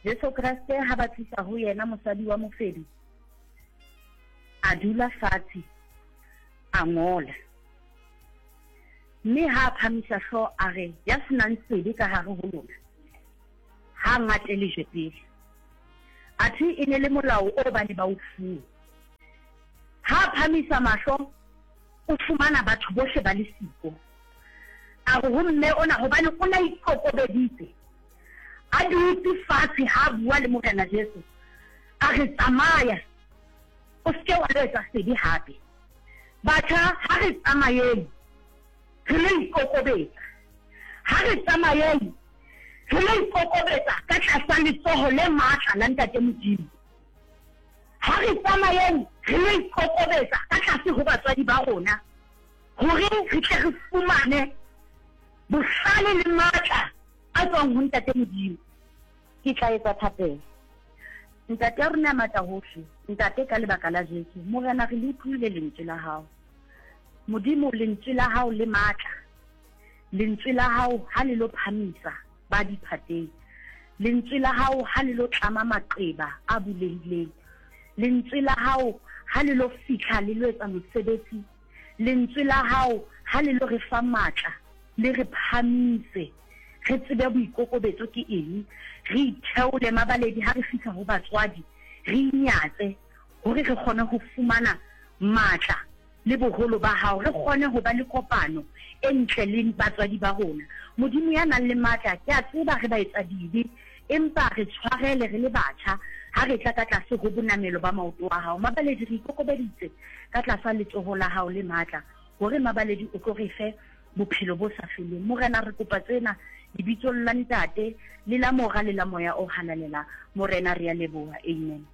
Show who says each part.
Speaker 1: Jesu Kreste ha ba tlisa ho yena mosadi wa mofebi, a dula fatshe, a ngola. Mme ha a phamisa hlooho a re, Ya se nang sebe ka hare ho lona, ha a ngate lejwe pele. Athe e ne le molao oo ba ne ba o fuwe. Ha a phamisa mahlo, o fumana batho bohle ba le siko. A re ho mme ona, hobane o ne a ikokobeditse, a dutse fatshe ha a bua le Morena Jesu, a re, Tsamaya, o se ke wa lo etsa sebe hape. Batjha, ha re tsamayeng re lo ikokobetsa. Ha re tsamayeng re lo ikokobetsa ka tlasa letsoho le matla la Ntate Modimo. Ha re tsamayeng re lo ikokobetsa ka tlase ho batswadi ba rona hore re tle re fumane bohlale le matla a tswang ho Ntate Modimo. Ke tla etsa thapelo. Ntate ya rona ya matla hohle, Ntate, ka lebaka la Jesu, Morena, re le utlwile Lentswe la Hao. Modimo, Lentswe la Hao le matla. Lentswe la Hao ha le lo phamisa ba diphateng. Lentswe la Hao ha le lo tlama maqeba a bulehileng. Lentswe la Hao ha le lo fihla le lo etsa mosebetsi. Lentswe la Hao ha le lo re fa matla, le re phamise, re tsebe boikokobetso ke eng, re itheole mabaledi ha re fihla ho batswadi, re inyatse hore re kgone ho fumana matla le boholo ba Hao, re kgone ho ba le kopano e ntle le batswadi ba rona. Modimo ya nang le matla, ke a tseba re baetsadibe, empa re tshwarele re le batjha ha re tla ka tlase ho bonamelo ba maoto a Hao. Mabaledi, re ikokobeditse ka tlasa letsoho la Hao le matla, hore Mabaledi o tlo re fe Bophelo bo sa Feleng. Morena, re kopa tsena Lebitsong la Ntate, le la Mora, le la Moya o Halalelang. Morena, re a leboha. Amen.